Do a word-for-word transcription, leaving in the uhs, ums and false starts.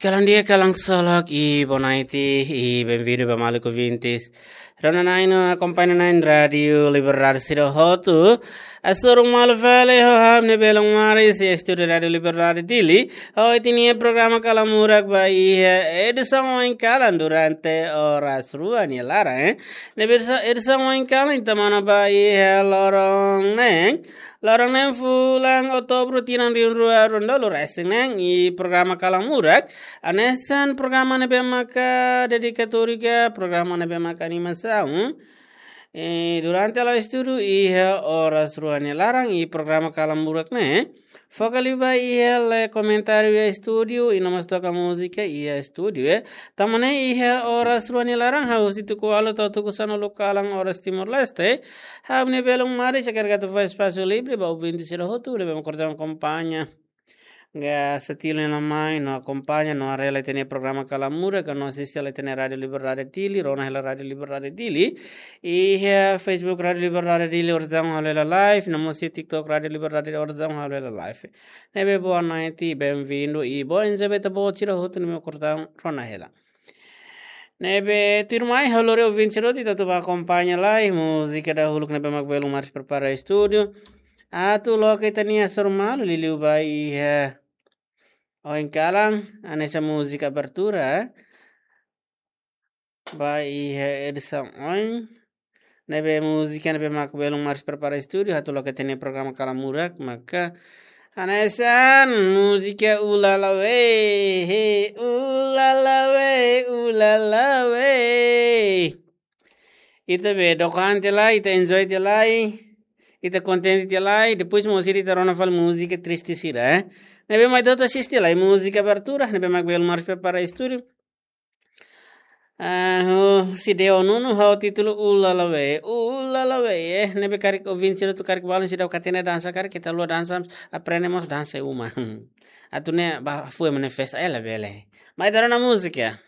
Kalan di'ak, kalan solok, i boa noite, i benvindu ba maluk ouvintes. Rona-na'in no akompaña-na'in Rádiu Liberdade sira hotu. Hasoru malu fali ho ha'u-nia belun maris iha estúdiu Rádiu Liberdade Dili. Ohin ita-nia programa Kalan Murak ba iha edisaun oin kalan durante oras rua nia laran, eh. Ne'ebé edisaun oin kalan ita monu ba iha loron neen. Loron neen fulan Outubru tinan rihun rua ruanulu-resin-neen, i programa Kalan Murak hanesan programa ne'ebé maka dedikatóriu ka programa ne'ebé maka animasaun. I durante halo estudu iha oras rua nia laran, i programa Kalan Murak ne'e foka liu ba iha lee komentáriu iha estúdiu, i no mós toka múzika iha estúdiu, eh. Tanba ne'e iha oras rua nia laran ha'u husi tuku ualu to'o tuku sanulu kalan oras Timor-Leste. Ha'u-nia belun maris hakarak atu fó espasu livre ba ouvinte sira hotu ne'ebé mak orsida akompaña. Ga setile na mai no akompaña no haree hela ita-nia programa Kalan Murak ka no asiste hela ita-nia Rádiu Liberdade Dili, rona hela Rádiu Liberdade Dili. Iha Facebook Rádiu Liberdade Dili orsida ha'u halo hela live, no mós iha TikTok Rádiu Liberdade orsida ha'u halo hela live. Ne'ebé boa noite, benvindu, i boa enjoy ba ita-boot sira hotu ne'ebé mak orsida rona hela. Ne'ebé tuirmai ha'u lori ouvinte sira hotu atu bá akompaña lai múzika dahuluk ne'ebé mak belun maris prepara estúdiu. Atu loke ita-nia hasoru malu liuliu ba iha oin kalan, hanesan múzika abertura, eh. Ba iha edisaun oin. Ne'ebé múzika ne'ebé mak belun maris prepara estúdiu, atu loke ita-nia programa Kalan Murak, maka hanesan múzika Ulala We, he, Ulala We, Ulala We. Ita be dokan tiha lai, ita enjoy tiha lai, ita kontente tiha lai, depois mós ita rona fali múzika triste sira, eh. Ne'ebé mai ita asiste lai múzika abertura ne'ebé mak belun maris prepara estúdiu. Ah, oh, C D Nuno ho títulu Ulala We, Ulala We, eh. Ne'ebé karik ouvinte sira hotu karik balun seidauk hatene dansa karik, keta haluha dansa, aprende mós dansa iha uma. Atu nune'e bá fó manifesta ela bele. Mai ita rona múzika.